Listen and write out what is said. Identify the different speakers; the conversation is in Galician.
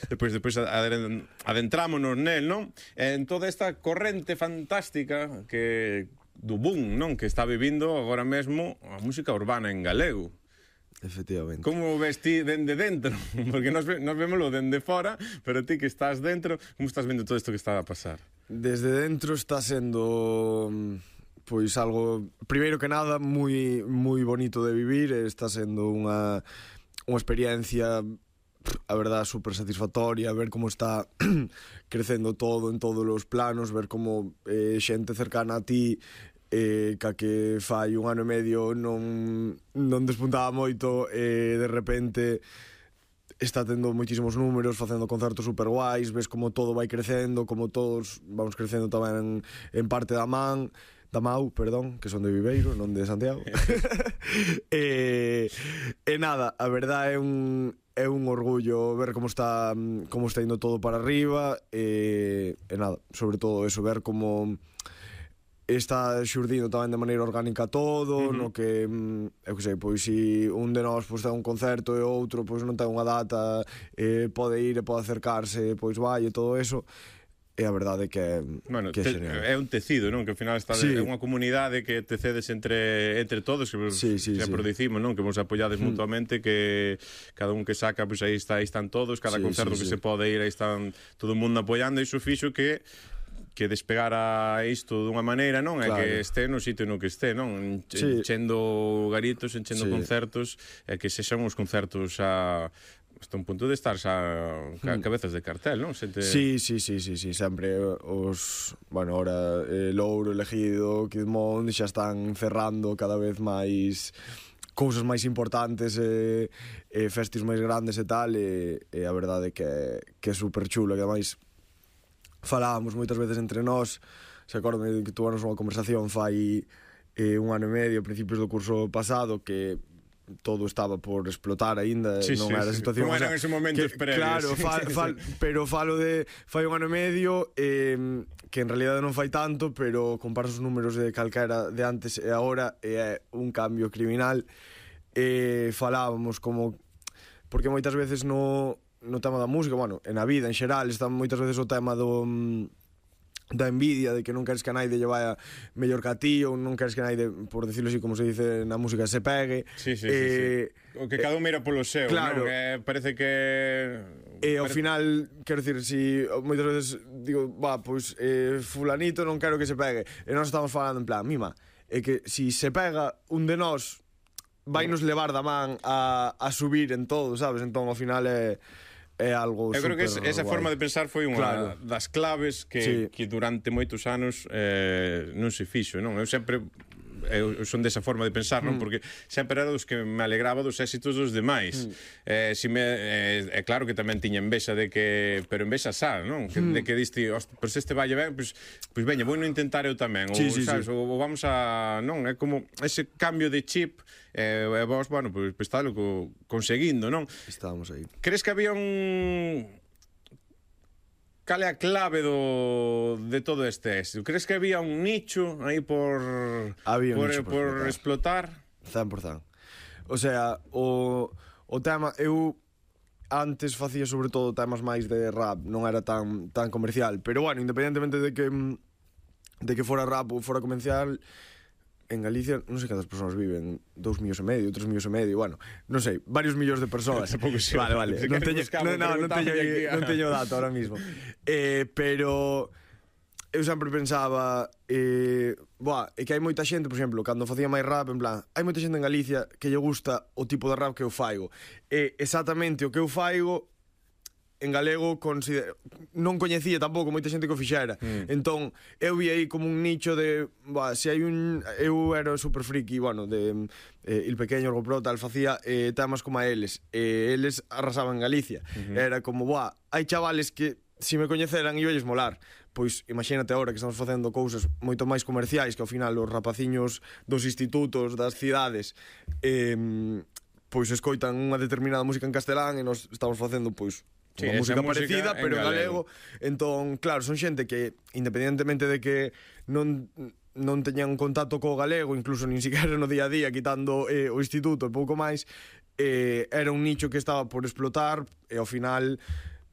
Speaker 1: Depois adentrámonos nel, non? En toda esta corrente fantástica que do boom, non? Que está vivindo agora mesmo a música urbana en galego.
Speaker 2: Efectivamente.
Speaker 1: Como ves ti dende dentro? Porque nos vémoslo dende fora, pero ti que estás dentro, como estás vendo todo isto que está a pasar?
Speaker 2: Desde dentro está sendo pois algo, primeiro que nada, moi bonito de vivir. Está sendo unha experiencia, a verdad, super satisfactoria, ver como está crecendo todo en todos os planos, ver como xente cercana a ti ca que fai un ano e medio non despuntaba moito, de repente está tendo moitísimos números, facendo concertos super guais, ves como todo vai crecendo, como todos vamos crecendo tamén en parte da Mau, perdón, que son de Viveiro, non de Santiago. E nada, a verdade é un orgullo ver como está indo todo para arriba, e nada, sobre todo eso, ver como está xurdindo tamén de maneira orgánica todo, no que, eu que sei, pois se un de nós pois ten un concerto e outro pois non ten unha data, pode ir e pode acercarse, pois vai e todo eso. E a verdade que é genial.
Speaker 1: É un tecido, non? Que ao final está é unha comunidade que tecedes entre todos, que sempre dicimos, non? Que vos apoyades mutuamente, que cada un que saca, pois aí están todos, cada concerto que se pode ir, aí están todo o mundo apoiando, e iso fixo que despegara isto dunha maneira, non? É que este no sitio no que este, non? Enchendo garitos, enchendo concertos, e que sexan os concertos hasta un punto de estar xa cabezas de cartel, non?
Speaker 2: Sí, sempre os, bueno, ahora Louro, Elegido, Kidmont xa están cerrando cada vez máis cousas máis importantes, festis máis grandes e tal, e a verdade que é super chulo, que ademais falábamos moitas veces entre nós. Se acordo que tuvamos unha conversación fai un ano e medio, a principios do curso pasado, que todo estaba por explotar aínda, non era a situación
Speaker 1: como eran esos momentos previos.
Speaker 2: Claro, pero falo de fai un ano e medio, que en realidade non fai tanto, pero comparas os números de calquera de antes e agora, é un cambio criminal. Falábamos como, porque moitas veces no tema da música, bueno, en a vida en xeral, está moitas veces o tema da envidia, de que non queres que a naide lle vaya mellor que a ti, ou non queres que a naide, por decirlo así, como se dice na música, se pegue.
Speaker 1: Sí. O que cada un mira polo seu, claro, non? Parece que...
Speaker 2: ao final, quero dicir, si moitas veces digo, pois fulanito non quero que se pegue, e nós estamos falando en plan, mima, é que si se pega un de nós, vai nos levar da man a subir en todo, sabes? Entón, ao final é algo super...
Speaker 1: Eu creo que esa forma de pensar foi unha das claves que durante moitos anos non se fixo, non? Eu son desa forma de pensar, non? Porque sempre era dos que me alegraba dos éxitos dos demais. É claro que tamén tiña envexa de que... Pero envexa xa, non? De que diste, pero se este valle ben, pois veña, vou non intentar eu tamén. Sabes? Ou vamos a... Non? É como ese cambio de chip, e vos, bueno, pois estalo conseguindo, non?
Speaker 2: Estábamos aí.
Speaker 1: Crees que había un... Cal é a clave de todo este éxito? Crees que había un nicho aí por explotar?
Speaker 2: 100%. O sea, o tema, eu antes facía sobre todo temas máis de rap, non era tan comercial, pero bueno, independentemente de que fora rap ou fora comercial, en Galicia non sei cantas persoas viven, 2,5 millones, 3,5 millones, bueno, non sei, varios millóns de persoas. Vale, non teño dato ahora mismo. Pero eu sempre pensaba, é que hai moita xente, por exemplo, cando facía máis rap, en plan, hai moita xente en Galicia que lle gusta o tipo de rap que eu faigo. E exactamente o que eu faigo en galego non coñecía tampouco moita xente que o fixera. Entón, eu vi aí como un nicho de, se hai eu era super friki, bueno, de Il Pequeño, Orgo Pro, tal, facía temas como a eles. Eles arrasaban en Galicia. Era como, hai chavales que se me coñeceran e iballes molar. Pois imagínate agora que estamos facendo cousas moito máis comerciais, que ao final os rapaciños dos institutos, das cidades, pois escoitan unha determinada música en castelán e nos estamos facendo, pois, unha música parecida, pero en galego. Entón, claro, son xente que, independentemente de que non teñan contacto co galego, incluso nin siquiera no día a día, quitando o instituto e pouco máis, era un nicho que estaba por explotar, e ao final